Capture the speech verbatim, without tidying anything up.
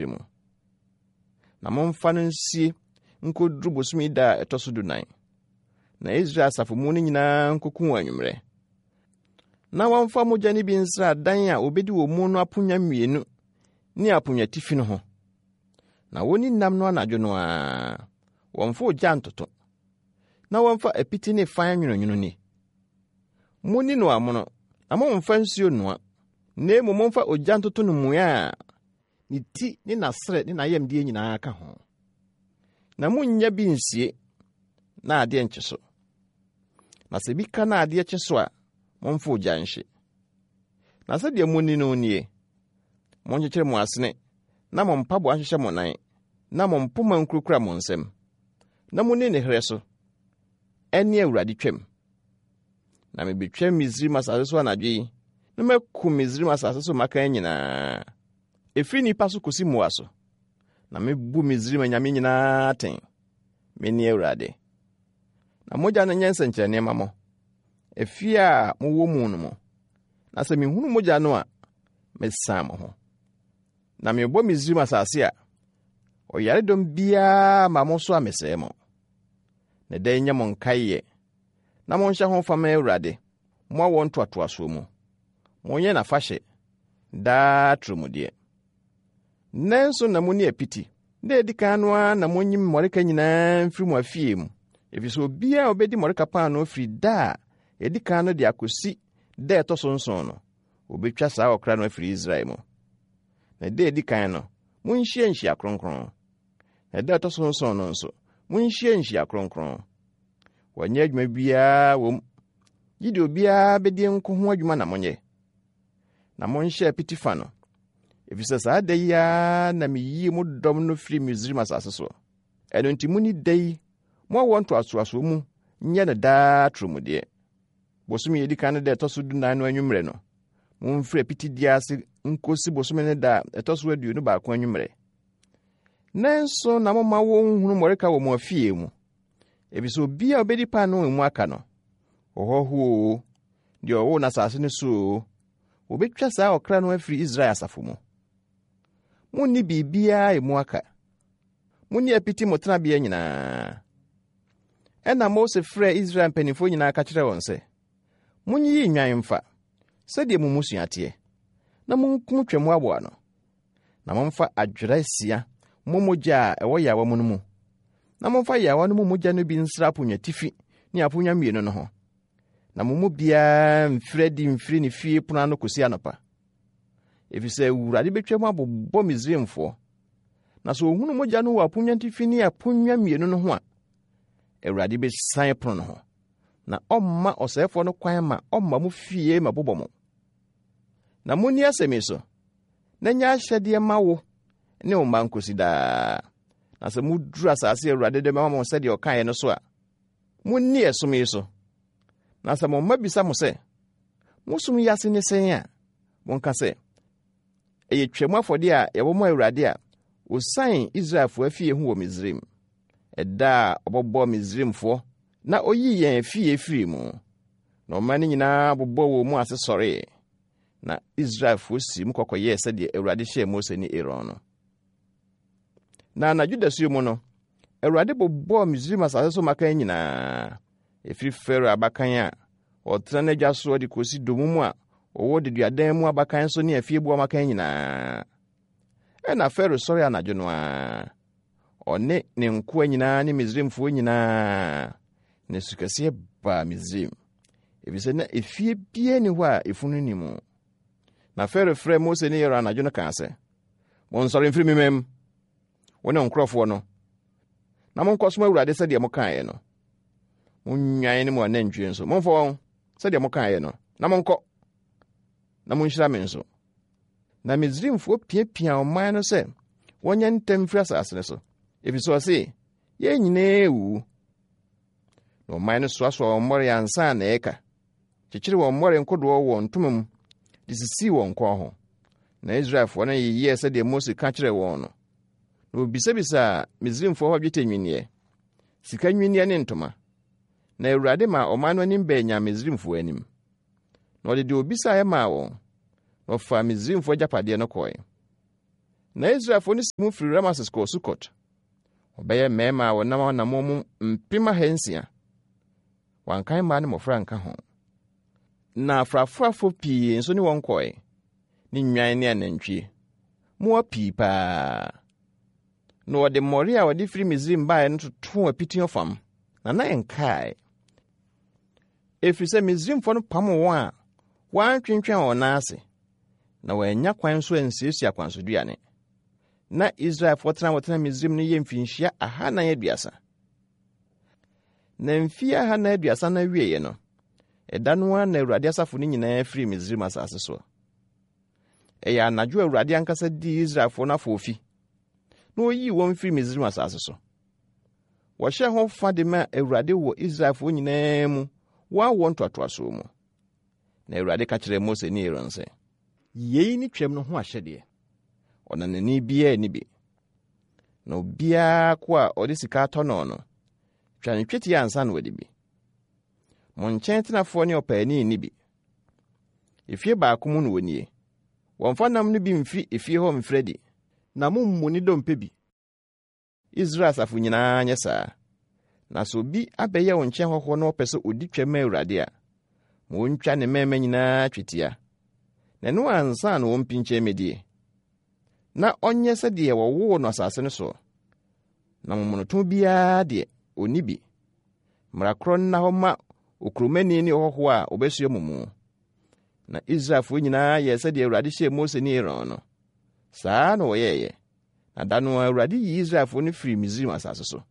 mu. Na momfa no nsie nkoduru bosome da a ɛtɔ so dunan. Na Israel asafo mu no nyinaa nkokum wɔ anwummerɛ. Na wɔmfa mogya no bi nsra adan a obedi wɔ mu no aponnwa mmienu ne aponnwatifi no ho. Na wonni nam no anadwo no ara. Wɔmfa ogya ntoto. Na wɔmfa apiti ne fan nwononwono ni. Munni no amono, na mommfa nsuo nnoa. Na mmom momfa ogya ntoto no mua a ne ti ne n'asrɛ ne n'ayamdeɛ nyinaa ka ho. Na munnya bi nsie na adeɛ nkye so. Na sɛ bi ka na adeɛ kye so a, momfa ogya nhye. Na sɛdeɛ munni no nie, monkyekyere mo asene na mo mpaboa nhyehyɛ mo nan, na mo mpoma nkurakura mo nsam. Na munni ne herɛ so, ɛne Awurade twam. Na mebetwa Misraim asase so anadwo yi, na makum Misraim asase so mmakan nyinaa, ɛfiri nnipa so kosi mmoa so. Na mebu Misraim anyame nyinaa atɛn. Mene Awurade. Na mogya no nyɛ nsɛnkyerɛnne mma mo, efie a mowɔ mu no mu. Na sɛ mihunu mogya no a, mesan mo ho. Na mebɔ Misraim asase a, ɔyaredɔm biara ma mo so a mesɛe mo. Na da yi nyɛ mo nkaeɛ, na monhyɛ ho fa ma Awurade, mo awoɔ ntoatoasoɔ mu. Monyɛ n'afahyɛ, daa atorɔmudeɛ. Nnanson na munni apiti. Da a edi kan no ara na munyi mmɔreka nyinaa mfiri mo afie mu, efisɛ obiara a obedi mmɔreka paanoo firi da a edi kan no de akosi da a ɛtɔ so nson no, obetwa saa ɔkra no afiri Israel mu. Na da a edi kan no, munhyia nhyia kronkron. Na da a ɛtɔ so nson no nso, munhyia nhyia kronkron. Wɔnyɛ adwuma biara wɔ mu, gye deɛ obiara bedi nko ho adwuma na monyɛ. Na monhyɛ apiti fa no, efisɛ saa da yi ara na miyii mo dɔm no firi Misraim asase so. Ɛno nti munni da yi, mo awoɔ ntoatoasoɔ mu nyɛ no daa atorɔmudeɛ. Bosome a edi kan no da a ɛtɔ so dunan no anwummerɛ no, momfiri apitidie ase nkosi bosome no da a ɛtɔ so aduonu baako anwummerɛ. Nanso na momma wonhunu mmɔreka wɔ mo afie mu, efisɛ obiara a obedi paanoo a emu aka no, ɔhɔho oo, deɛ ɔwoo n'asase no so oo, wobetwa saa ɔkra no afiri Israel asafo mu. Munni biribiara a emu aka. Munni apiti mo tenabea nyinaa. Ɛnna Mose frɛɛ Israel mpanimfoɔ nyinaa ka kyerɛɛ wɔn sɛ, Munyiyi nnwan mfa, sɛdeɛ mo mmusua teɛ, na munkum twam aboa no. Na momfa adwera asia mmɔ mogya a ɛwɔ yaawa mu no mu, na momfa yaawa no mu mogya no bi nsra aponnwatifi ne aponnwa mmienu no ho. Na mo mu biara mfiri adi mfiri ne fie pono ano kosi anɔpa. Efisɛ Awurade betwa mu abobɔ Misraimfoɔ. Na sɛ ohunu mogya no wɔ aponnwa atifi ne aponnwa mmienu no ho a, Awurade besian pono no ho, na ɔmma ɔsɛefoɔ no kwan ma ɔmma mo fie ma bobɔ mo. Na munni asɛm yi so, na nyɛ ahyɛdeɛ ma wo ne wo mma nkosi daa. Na sɛ muduru asase a Awurade de bɛma mo sɛdeɛ ɔkaeɛ no so a, munni ɛsom yi so. Na sɛ mo mma bisa mo sɛ, mo som yi ase ne sɛn a, monka sɛ, ɛyɛ twam afɔdeɛ a yɛbɔ ma Awurade a osian Israelfoɔ afie ho wɔ Misraim. Ɛda a ɔbɔbɔɔ Misraimfoɔ na oyii yɛn afie firii mu. Na ɔman no nyinaa bobɔɔ wɔn mu ase sɔree. Na Israelfoɔ sii mu kɔkɔyɛɛ sɛdeɛ Awurade hyɛɛ Mose ne Aaron no. Na anadwo dasuo mu no, Awurade bobɔɔ Misraim asase so mmakan nyinaa, ɛfiri Farao abakan a ɔtena n'adwa soɔ de kɔsi dommum a wɔwɔ deduadan mu abakan so ne afieboa mmakan nyinaa. Ɛnna Farao sɔre anadwo no ara, ɔne ne nkoa nyinaa ne Misraimfoɔ nyinaa, na sukɛseɛ baa Misraim, efisɛ na efie biara nni hɔ a efunu nni mu. Na Farao frɛɛ Mose ne Aaron anadwo no kaa sɛ, Monsɔre mfiri me man mu, wo ne nkurɔfoɔ no, na monkɔsom Awurade sɛdeɛ mokaeɛ no. Mo nnwan ne mo anantwie nso, momfa wɔn sɛdeɛ mokaeɛ no, na monkɔ, na monhyira me nso. Na Misraimfoɔ piapia ɔman no sɛ wɔnyɛ ntɛm mfiri asase no so, ɛfiri sɛ ɔse, yɛn nyinaa wuwu. Na ɔman no soasoa wɔn mmɔre ansa na ɛreka, kyekyere wɔn mmɔre nkodoɔ wɔ ntoma mu de sisii wɔn kɔn ho. Na Israelfoɔ no yeyɛɛ sɛdeɛ Mose ka kyerɛɛ wɔn no. Na wɔbisabisaa Misraimfoɔ hɔ dwetɛ nnwinneɛ, sika nnwinneɛ ne ntoma. Na Awurade maa ɔman no anim bɛɛ nyaa Misraimfoɔ anim. Na ɔde deɛ obisaeɛ maa wɔn, na ɔfaa Misraimfoɔ agyapadeɛ no kɔe. Na Israelfoɔ no sii mu firii Rameses kɔɔ Sukot. Wɔbɛyɛ mmarima a wɔnam anammɔn mu mpem ahansia. Wɔankan mmaa ne mmɔfra anka ho. Na afrafrafo pii nso ne wɔn kɔe, ne nnwan ne anantwie, mmoa pii paa. Na wɔde mmɔre a wɔde firi Misraim baeɛ no totoo apiti ɔfam, na na ɛnkae. Ɛfiri sɛ Misraimfoɔ no pam wɔn a wɔantwentwɛn wɔn nan ase, na wɔannya kwan nso ansiesie akwansoduane. Na Israelfoɔ tena wɔtena Misraim no yɛ mfinhyia ahanan aduasa. Na mfie ahanan aduasa no awieeɛ no, ɛda no ara na Awurade asafo no nyinaa firii Misraim asase soɔ. Ɛyɛ anadwo a Awurade ankasa dii Israelfoɔ no afoofi, na ɔyii wɔn firii Misraim asase so. Wɔhyɛɛ ho fa de ma Awurade wɔ Israelfoɔ nyinaa mu, wɔn awoɔ ntoatoasoɔ mu. Na Awurade ka kyerɛɛ Mose ne Aaron sɛ, Yei ne Twam no ho ahyɛdeɛ. Ɔnanani biara nni bi. Na obiara ko a ɔde sika atɔ no no, twa ne twetia ansa na wadi bi. Mo nkyɛn tenafoɔ ne ɔpaani nni bi. Efie baako mu na wɔnnie. Wɔmfa nam no bi mfiri efie hɔ mfiri adi, na mommu ne dompe bi. Israel asafo nyinaa nyɛ saa. Na sɛ obi abɛyɛ wo nkyɛn hɔhoɔ na ɔpɛ sɛ ɔdi twam ma Awurade a, ma ɔntwa ne mmarima nyinaa twetia, na ɛno ansa na ɔmpinkyɛn mmɛdie. Na ɔnyɛ sɛdeɛ wɔwoo no asase no soɔ. Na momonoto biara deɛ, ɔnni bi. Mmara korɔ nna hɔ ma okuromani ne ɔhɔhoɔ a ɔbɛsoɛ mo mu. Na Israelfoɔ nyinaa yɛɛ sɛdeɛ Awurade hyɛɛ Mose ne Aaron no. Saa na wɔyɛeɛ. Na da no ara Awurade yii Israelfoɔ no firii Misraim asase so.